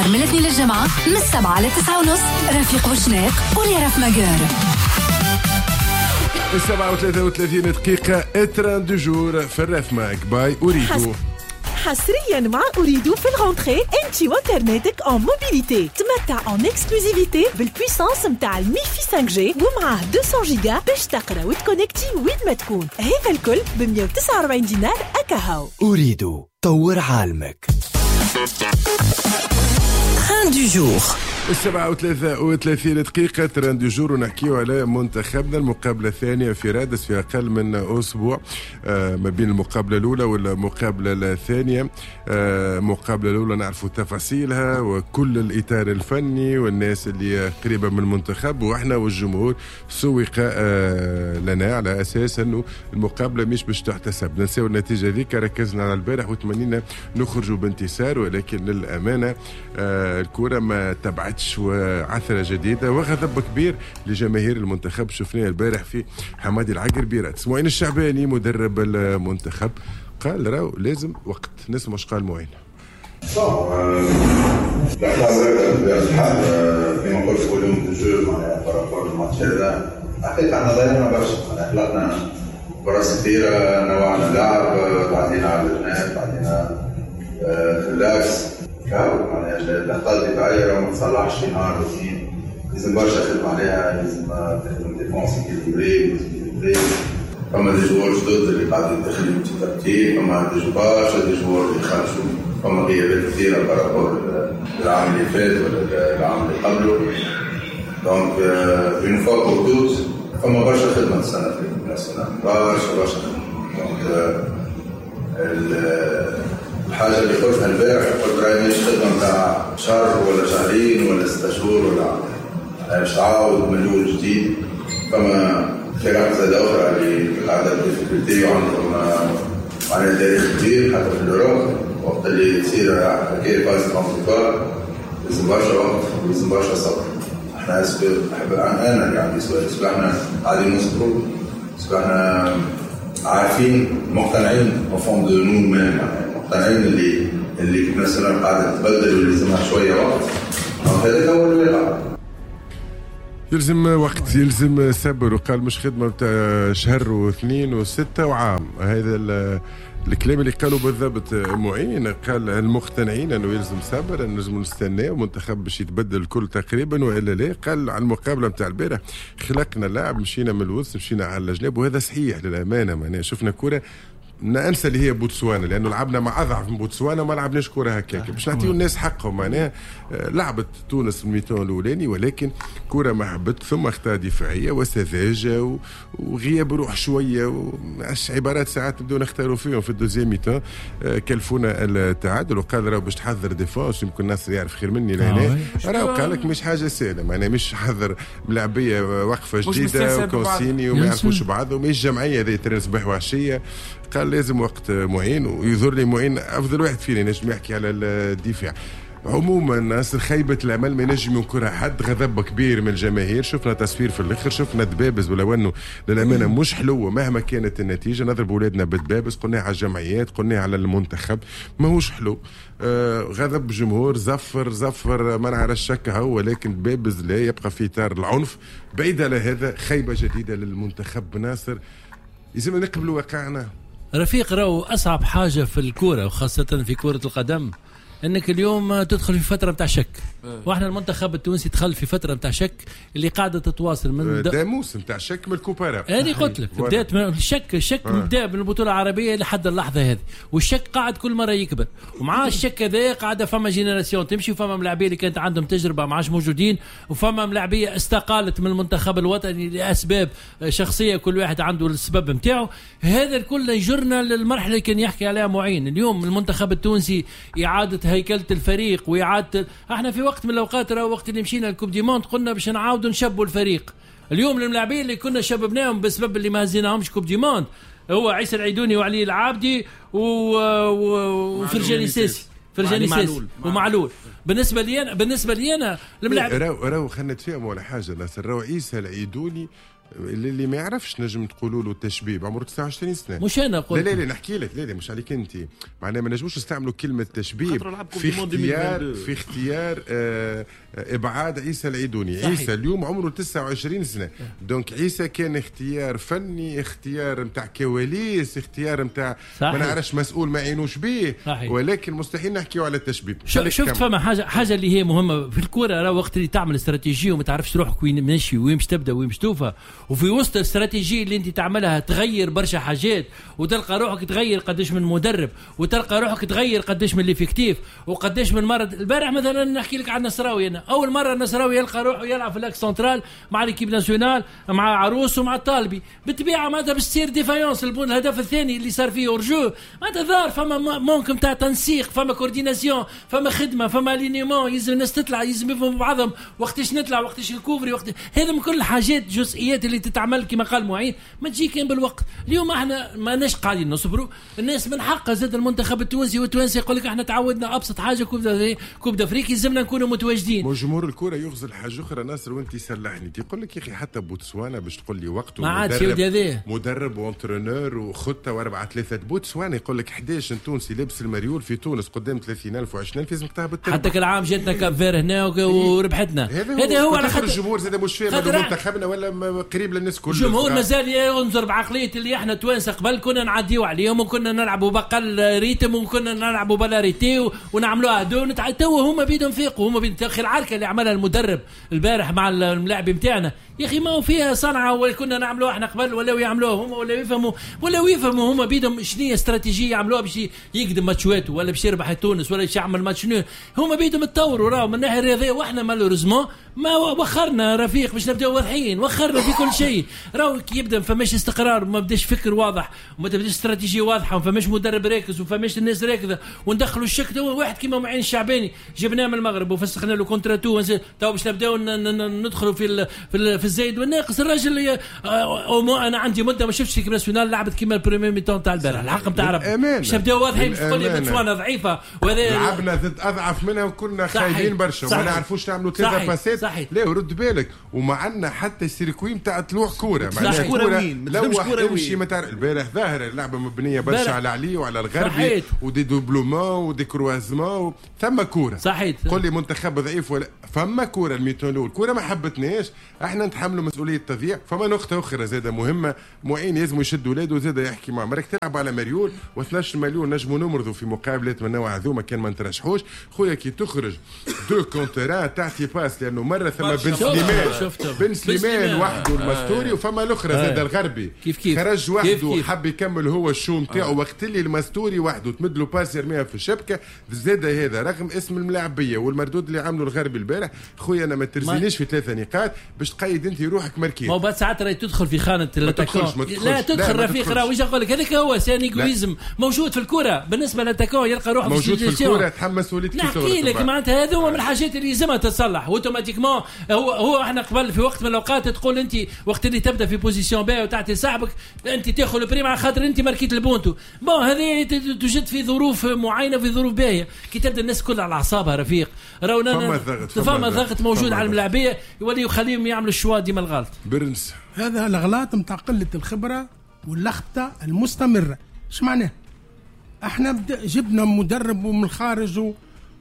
نهار من الاثنين للجمعة من 7 ل 9:30 رفيق وشناق ولي رف ماجور. 7:33 دقيقة، trend du jour في الرف ماك by Ooredoo. حصريا مع Ooredoo في ال rentrée انت وانترنتك en mobilité تمتع en exclusivité بال puissance نتاع ال MiFi 5G ومعاه 200 جيجا باش تقرا وتكونكتي وين ما تكون، هذا الكل ب 149 دينار اكاهو. Ooredoo طور عالمك. trend du jour. 7:33 دقيقة، trend du jour، ونحكيو على منتخبنا، المقابلة الثانية في رادس في أقل من أسبوع، ما بين المقابلة الأولى والمقابلة الثانية. المقابلة الأولى نعرفوا تفاصيلها وكل الإطار الفني والناس اللي قريبة من المنتخب، وإحنا والجمهور سوق لنا على أساس أنه المقابلة مش باش تحتسب. ننساو النتيجة ذيك، ركزنا على البارح وتمنينا نخرجوا بانتصار، ولكن للأمانة الكرة ما تبعتش، وعثرة جديدة وغضب كبير لجماهير المنتخب شفناه البارح في حمادي العقربي رادس. معين الشعباني مدرب المنتخب قال راهو لازم وقت. نسمع اش قال معين. الحال كما قلت volume de jeu معناها par rapport للماتش هذا حقيقة احنا ضيعنا برشا، معناها خلقنا فرص كثيرة، نوعنا لعب، تعدينا على الجناب، تعدينا في l'axe، معناها الاخطاء الدفاعية راه ما تصلحش في نهار واثنين، لازم برشا خدمة عليها، لازم تخدم défense équilibrée، فما des joueurs جدد اللي قاعدين يدخلوا petit à petit، فما des برشا des joueurs اللي خرجوا، فما غيابات كثيرة par rapport العام اللي فات ولا العام اللي قبله. donc une fois pour toutes فما برشا خدمة السنة في l'équipe nationale، برشا برشا خدمة. donc الحاجة اللي قلتها البارح، قلت راهي مش خدمة نتاع شهر ولا شهرين ولا 6 شهور ولا عام، باش تعاود من الاول جديد. فما فرق زاد اخرى اللي عندها difficultés وعندهم معناها تاريخ كبير حتى في l'Europe، وقت اللي تصير حكاية phase transitoire لازم برشا وقت ولازم برشا صبر. احنا est-ce que نحب انا اللي عندي سؤال، est-ce que احنا قاعدين نصبروا؟ est-ce que احنا عارفين مقتنعين au fond de nous-mêmes، مقتنعين اللي مثلا قاعدة تتبدل واللي لازمها شوية وقت؟ هذا هو الواقع. يلزم وقت، يلزم صبر، وقال مش خدمة بتاع شهر واثنين وستة وعام. هذا الكلام اللي قالوا بالضبط معين، قال المقتنعين انه يلزم صبر، انه لازم نستناه المنتخب باش يتبدل الكل تقريبا والا لا. قال على المقابلة نتاع البارح خلقنا لاعب، مشينا من الوسط، مشينا على الجناب، وهذا صحيح للامانة. معناها شفنا كره ننسى اللي هي بوتسوانا، لانه لعبنا مع اضعف من بوتسوانا وما لعبناش كره هكاك باش نعطيو الناس حقهم. معناها لعبت تونس ال mi-temps الاولاني، ولكن كره ما حبت، ثم اخطاء دفاعية وسذاجه وغياب روح شوية، عبارات ساعات نبداو نختاروا فيهم في ال deuxième mi-temps، كلفونا التعادل. وقال راهو باش تحضر défense، يمكن الناس يعرف خير مني لهنا، راهو قال لك مش حاجة سهلة، معناها مش حضر ملاعبيه وقفه جديدة و consignes وما يعرفوش بعض، ومش جمعية ذي ترين صباح وعشية. قال لازم وقت معين، ويظهر لي معين افضل واحد فينا ينجم يحكي على الدفاع. عموما ناصر خيبة الامل ما ينجم ينكرها حد، غضب كبير من الجماهير، شفنا تصفير في الاخر، شفنا دبابز، ولو انه للامانة مش حلوة مهما كانت النتيجة، نضرب اولادنا بالدبابز، قلناها على الجمعيات، قلناها على المنتخب، ماهوش حلو. غضب جمهور، زفر ما نعرفش شك هو، ولكن دبابز لا يبقى في اطار العنف. بعيد على هذا، خيبه جديدة للمنتخب ناصر، لازم نقبلوا واقعنا. رفيق، راهو أصعب حاجة في الكورة وخاصة في كرة القدم أنك اليوم تدخل في فترة متاع شك، وإحنا المنتخب التونسي دخل في فترة متاع شك اللي قاعدة تتواصل من داموس متاع شك من ال coupe arabe. أنا قلت لك بدأت من الشك بدا من البطولة العربية لحد اللحظة هذه، والشك قاعد كل مرة يكبر، ومع الشك هذا قاعدة فما génération تمشي، وفما ملاعبية اللي كانت عندهم تجربة ما عادش موجودين، وفما ملاعبية استقالت من المنتخب الوطني لأسباب شخصية، كل واحد عنده السبب متاعه. هذا الكل يجرنا للمرحلة اللي كان يحكي عليها معين. اليوم المنتخب التونسي إعادة هيكلة الفريق وإعادة، احنا في وقت من الأوقات راه وقت اللي مشينا ال coupe du monde قلنا باش نعاودوا نشبوا الفريق. اليوم الملاعبين اللي كنا شببناهم بسبب اللي ما هزيناهمش coupe du monde هو عيسى العيدوني وعلي العابدي وفرجاني ساسي، فرجاني ساسي ومعلول. بالنسبة لي أنا الملاعب راهو خلينا نتفاهموا على حاجة ناصر، راهو عيسى العيدوني اللي ما يعرفش نجم تقولوا له تشبيب، عمره 29 سنة. مش انا قلت، لا لا لا نحكي لك، لا لا مش عليك انت، معناها ما نجموش نستعملوا كلمة تشبيب في اختيار ابعاد عيسى العيدوني. صحيح. عيسى اليوم عمره 29 سنة، donc عيسى كان اختيار فني، اختيار نتاع كواليس، اختيار نتاع ما نعرفش مسؤول ما عينوش به، ولكن مستحيل نحكيو على التشبيب. شفت فما حاجة اللي هي مهمة في الكورة، راه وقت اللي تعمل استراتيجية وما تعرفش روحك وين ماشي وين باش تبدا وين باش توفى، وفي وسط الاستراتيجية اللي انت تعملها تغير برشا حاجات، وتلقى روحك تغير قداش من مدرب، وتلقى روحك تغير قداش من l'effectif، وقداش من مرة. البارح مثلا نحكي لك على النصراوي، انا اول مرة النصراوي يلقى روحه يلعب في l'axe central مع l'équipe nationale، مع عروس ومع الطالبي، بالطبيعة معناتها باش تصير défaillance. الهدف الثاني اللي صار فيه hors-jeu معناتها ظهر فما manque نتاع تنسيق، فما coordination، فما خدمة، فما alignement، يلزم الناس تطلع، يلزم يفهموا بعضهم وقتاش نطلع وقتاش نكوفري وقت. هذا من كل الحاجات جزئيات اللي تتعمل كما قال معين، ما تجي كان بالوقت. اليوم احنا ما ناش قاعدين نصبروا، الناس من حقها زاد المنتخب التونسي والتوانسي يقول لك احنا تعودنا ابسط حاجة coupe d'Afrique يلزمنا نكونوا متواجدين. جمهور الكره يغزل حاجة اخرى ناصر وانت سلحني، تقول لك يا اخي حتى بوتسوانا باش تقول لي وقته مدرب و entraîneur وخطه و4-3، بوتسوانا يقول لك 11 تونسي لبس المريول في تونس قدام 30,000 و20,000 لازمك تهبط. حتى كل عام جاتنا Cap-Vert هنا وربحتنا. هذا هو على خاطر الجمهور زاد مش فاهم منتخبنا ولا قريب للناس كل. الجمهور مازال ينظر بعقلية اللي احنا توانسة قبل كنا نعديو عليهم وكنا نلعبوا بقل rythme وكنا نلعبوا بلا rythme ونعملوها دون. تو هما بيدهم فيقوا، هما بيدهم اخر العركه اللي عملها المدرب البارح مع الملاعب نتاعنا يا اخي ما هو فيها صنعه ولا كنا نعملوها احنا قبل ولا يعملوها هما ولا يفهموا ولا يفهموا هما بيدهم شنو هي استراتيجية يعملوها باش يقدم ماتشات ولا باش يربح تونس ولا باش يعمل match nul. هما بيدهم تطوروا راهو من الناحية الرياضية، واحنا malheureusement ما وخرنا رفيق باش نبداو واضحين، وخرنا في كل شيء. راهو كي يبدا ما فماش استقرار وما بداش فكر واضح وما تبداش استراتيجية واضحة وما فماش مدرب راكز وما فماش الناس راكزه وندخلوا الشك. تو واحد كيما معين الشعباني جبناه من المغرب وفسخنا له contrat و تو باش نبداو ندخلوا في في الزايد والناقص. الراجل انا عندي مده ما شفتش l'équipe nationale لعبت كيما ال première mi-temps تاع البارح، الحق نتاع ربي باش نبداو واضحين. باش تقول لي بوتسوانا ضعيفة وهذا لعبنا ضد اضعف منها وكنا خايبين برشا وما نعرفوش نعملوا 3 passes. لا ورد بالك وما عندنا حتى circuit نتاع طلوع كورة، معناها كورة لوح امشي ما تعرف. البارح ظاهر اللعبة مبنية برشا على علي وعلى الغربي و des doublements و des croisements، ثم كورة. صحيح قول لي منتخب ضعيف ولا فما كورة ال mi-temps الاول كورة ما حبتناش، احنا نتحملوا مسؤولية التضييع. فما نقطة اخرى زاده مهمة، معين لازم يشد ولاده زاده يحكي معهم، راك تلعب على مريول و12 مليون نجموا نمرضوا في مقابلات من النوع هذوما كان ما نترشحوش. خويا كي تخرج 2 contre تعطي passe، لانه مرة ثم بن سليمان، بن سليمان وحده المستوري وفما الاخرى زاد الغربي كيف خرج وحده حب يكمل هو ال show نتاعو، وقت اللي المستوري وحده تمد له passe يرميها في الشبكة. زاد هذا رغم اسم الملاعبيه والمردود اللي عملوا الغربي البارح، خويا انا ما ترزينيش في 3 نقاط باش تقيد انت روحك مركز. ما بعد ساعات راهي تدخل في خانه l'attaquant، لا تدخل رفيق، راه واش نقول لك هذاك هو c'est un égoïsme موجود في الكره بالنسبة ل l'attaquant، يلقى روحه موجود في الكره تحمل مسؤولية. نحكي لك معناتها هذوما من الحاجات اللي لازمها تتصلح automatiquement. هو احنا قبل في وقت من الاوقات تقول انت وقت اللي تبدا في position باهي وتعطي صاحبك انت تاخذ ال prime على خاطر انت ماركيت البونتو. bon هذه توجد في ظروف معينة في ظروف باهيه، كي تبدا الناس كلها على اعصابها رفيق راهو فما ضغط موجود على الملاعبيه يولي يخليهم يعملوا ال choix ديما الغلط. برنس هذا الغلط نتاع قلة الخبرة واللخبطه المستمرة. اش معناه؟ احنا جبنا مدرب من الخارج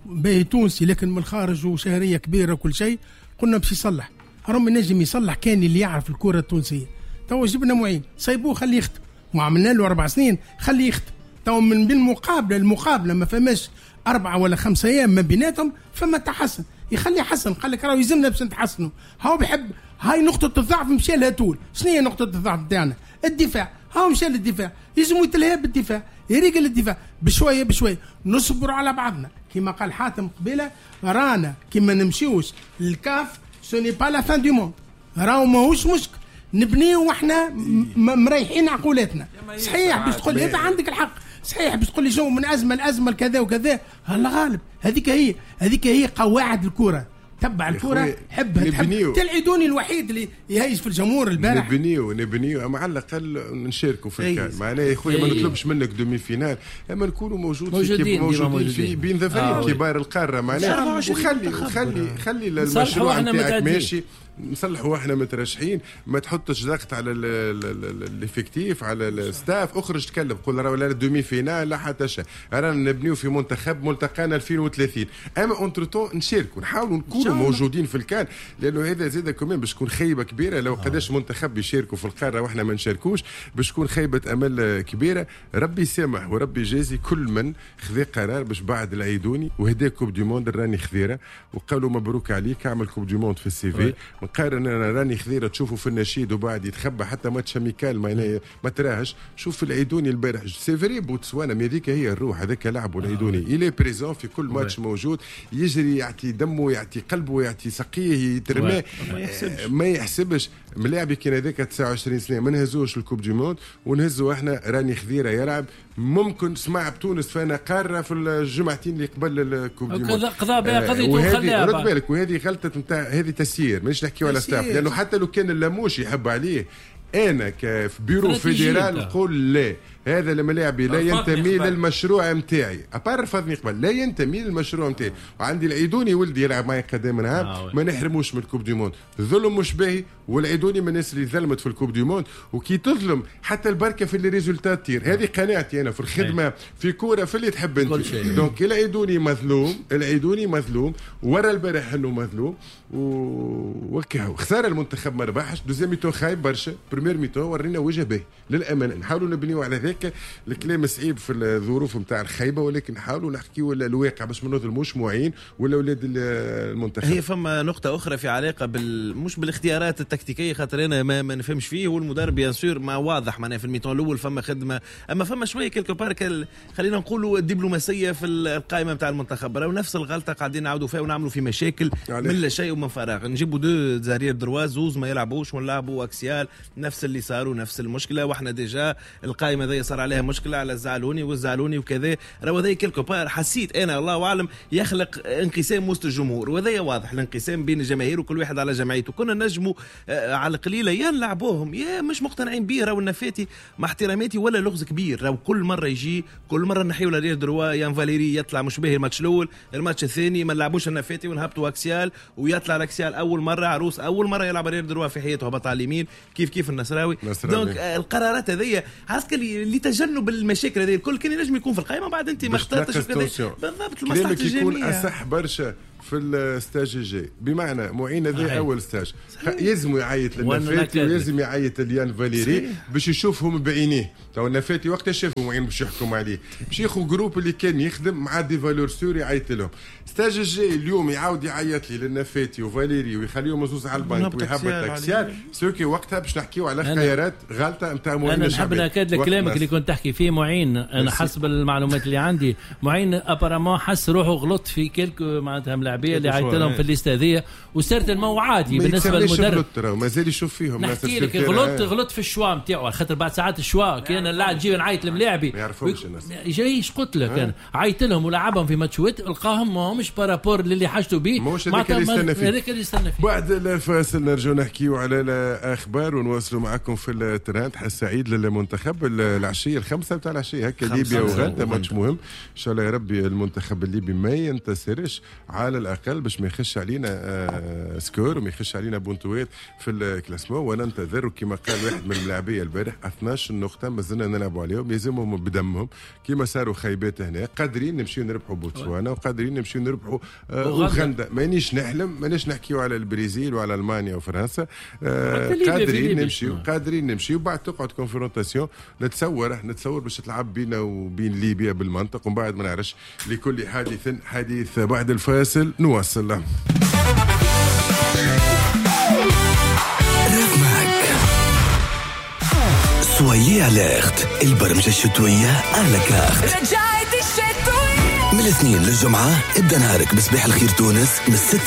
باهي تونسي لكن من الخارج وشهريه كبيرة وكل شيء، قلنا باش يصلح. راهم نجم يصلح كان اللي يعرف الكره التونسية. تو جبنا معين سيبوه خليه يخدم، وعملنا له 4 سنين خليه يخدم. تو من بين مقابله المقابلة ما فماش 4 ولا 5 ايام ما بيناتهم فما تحسن، يخلي حسن. قال لك راهو يلزمنا باش نتحسنوا. هاو بيحب هاي نقطة الضعف مشى لها طول. شنو هي نقطة الضعف نتاعنا؟ الدفاع. هاو مشى للدفاع، يلزم يتلهى بالدفاع، يريقل الدفاع بشوية بشوية. نصبر على بعضنا كما قال حاتم قبيلة، رانا كما نمشيوش للكاف ce n'est pas la fin du monde، راهو ماهوش مشكل، نبنيو واحنا مريحين عقولاتنا. صحيح باش تقول هذا عندك الحق، صحيح باش تقول لي جو من ازمة لازمه كذا وكذا، الله غالب. هذيك هي قواعد الكره. تبع الكره، حبها تحب. العيدوني الوحيد اللي يهيج في الجمهور البارح. نبنيو اما على الاقل نشاركوا في الكان. معناها يا خويا ما نطلبش منك demi-finale، اما نكونوا موجودين في بين ظفرين كبار القارة معناها. وخلي خلي خلي المشروع نتاعك ماشي، نصلحوا احنا مترشحين، ما تحطش ضغط على l'effectif على ال staff. اخرج تكلم قول راه لا demi-finale لا حتى شيء، رانا نبنيو في منتخب ملتقانا 2030، اما entre-temps نشاركوا نحاولوا نكونوا موجودين في الكان، لانه هذا زاد كمان باش تكون خيبه كبيرة لو قداش منتخب يشاركوا في القارة واحنا ما نشاركوش، باش تكون خيبه امل كبيرة. ربي يسامح وربي يجازي كل من خذا قرار باش بعد العيدوني وهدا coupe du monde راني خذيره وقالوا مبروك عليك اعمل coupe du monde في ال CV. نقارن انا راني خذيره تشوفه في النشيد وبعد يتخبى حتى match amical ما تراهش. شوف العيدوني البارح c'est vrai بوتسوانا، mais هذيك هي الروح، هذاك لعبه العيدوني، il est présent في كل ماتش موجود، يجري يعطي دمه يعطي قلبه يعطي سقيه يترمى ما يحسبش. ملاعبي كان هذاك 29 سنة ما نهزوش ال coupe du monde ونهزوا احنا راني خذيره يلعب. ممكن سمع بتونس فانا قارة في الجمعتين اللي قبل ال coupe du monde قضاء بها قضيته وخلاها. رد بالك، وهذه غلطه نتاع هذه تسيير، مانيش نحكيو على staff، لانه حتى لو كان اللاموش يحب عليه انا في bureau fédéral نقول لا، هذا الملاعبي لا ينتمي للمشروع نتاعي، à part رفضني قبل لا ينتمي للمشروع نتاعي. وعندي العيدوني ولدي يلعب معي قدام نهار ما نحرموش من ال coupe du monde، الظلم مش باهي، والعيدوني من الناس اللي ظلمت في ال coupe du monde، وكي تظلم حتى البركة في les résultats تطير. هذه قناعتي انا في الخدمة في كورة في اللي تحب انت. donc العيدوني مظلوم، العيدوني مظلوم، ورا البارح انه مظلوم وكهو. خسارة المنتخب ما ربحش، deuxième mi-temps خايب برشا، première mi-temps ورينا وجه باهي للامانة، نحاولوا نبنيو على ذاك. الكلام صعيب في الظروف نتاع الخيبه، ولكن نحاولوا نحكيو الواقع باش ما نظلموش معين ولا اولاد المنتخب. هي فما نقطة اخرى في علاقة مش بالاختيارات التكتيكيه، خاطر انا ما نفهمش فيه، والمدرب bien sûr ما واضح معناها في ال mi-temps الاول فما خدمة، اما فما شوية quelque part خلينا نقولوا الدبلوماسية في القائمة نتاع المنتخب. راهو نفس الغلطة قاعدين نعاودوا فيها ونعملوا في مشاكل من لا شيء ومن فراغ. نجيبوا deux arrières droits زوز ما يلعبوش ونلعبوا axial، نفس اللي صاروا نفس المشكلة، واحنا déjà القائمة ذي صار عليها مشكلة على الزعلوني والزعلوني وكذا. راهو هذا quelque part حسيت انا الله اعلم يخلق انقسام وسط الجمهور، وهذا واضح الانقسام بين الجماهير وكل واحد على جمعيته. كنا نجموا على القليلة يا نلعبوهم يا مش مقتنعين به. راهو النفاتي مع احتراماتي ولا لغز كبير، راهو كل مرة يجي كل مرة نحيو l'arrière droit يان فاليري يطلع مش باهي الماتش الاول، الماتش الثاني ما نلعبوش النفاتي ونهبطوا axial ويطلع ال axial اول مرة، عروس اول مرة يلعب arrière droit في حياته هبط على اليمين كيف كيف النصراوي. donc القرارات هذيا عرفت لتجنب المشاكل هذه الكل كان ينجم يكون في القائمة، بعد انت ما اخترتش بالضبط المصلحة الجميع. يكون اصح برشا في ال stage الجاي، بمعنى معين هذا اول stage يلزم يعيط للنفاتي ويلزم يعيط ليان فاليري باش يشوفهم بعينيه. تو النفاتي وقتها شافوا معين باش يحكم عليه، باش ياخذ groupe اللي كان يخدم مع des valeurs sûres يعيط لهم. stage الجاي اليوم يعاود يعيط لي للنفاتي وفاليري ويخليهم زوز على البنك ويهبط axial ce qui وقتها باش نحكيو على خيارات غلطه نتاع معين. انا نحب ناكد لك كلامك اللي كنت تحكي فيه معين. انا حسب المعلومات اللي عندي معين apparemment حس روحه غلط في quelques معناتها ملاعبيه اللي عيط لهم في ال liste هذيا، و certainement عادي بالنسبة للمدرب مازال يشوف فيهم. نحكي لك غلط في ال choix نتاعو، خاطر بعد ساعات ال choix كان اللاعب تجي نعيط للملاعبي ما يعرفهمش الناس. جايش قلت لك انا عيط لهم ولعبهم في ماتشات لقاهم ماهمش par rapport للي حاجته به، ماهوش هذاك اللي يستنى فيه. هذاك اللي يستنى فيه. بعد الفاصل نرجعوا نحكيو على الاخبار ونواصلوا معكم في الترند. حس سعيد للمنتخب العشية 5 نتاع العشية هكا ليبيا وغانا، ماتش مهم ان شاء الله يا ربي المنتخب الليبي ما ينتصرش على الاقل باش ما يخش علينا score وما يخش علينا بونتوات في ال classement. وننتظر كما قال واحد من الملاعبيه البارح 12 نقطة مازلنا نلعبوا عليهم، يلزمهم بدمهم كما صاروا خيبات هنا. قادرين نمشيو نربحوا بوتسوانا وقادرين نمشيو نربحوا اوغندا، مانيش نحلم، مانيش نحكيو على البرازيل وعلى المانيا وفرنسا. قادرين نمشيو، قادرين نمشيو. بعد تقعد confrontation نتصور باش تلعب بينا وبين ليبيا بالمنطق، ومن بعد ما نعرفش. لكل حادث حديث. بعد الفاصل نواصل. Soyez alerte، البرمجة الشتوية à la carte. رجعت الشتوية من الاثنين للجمعة. ابدأ نهارك بصباح الخير تونس من 6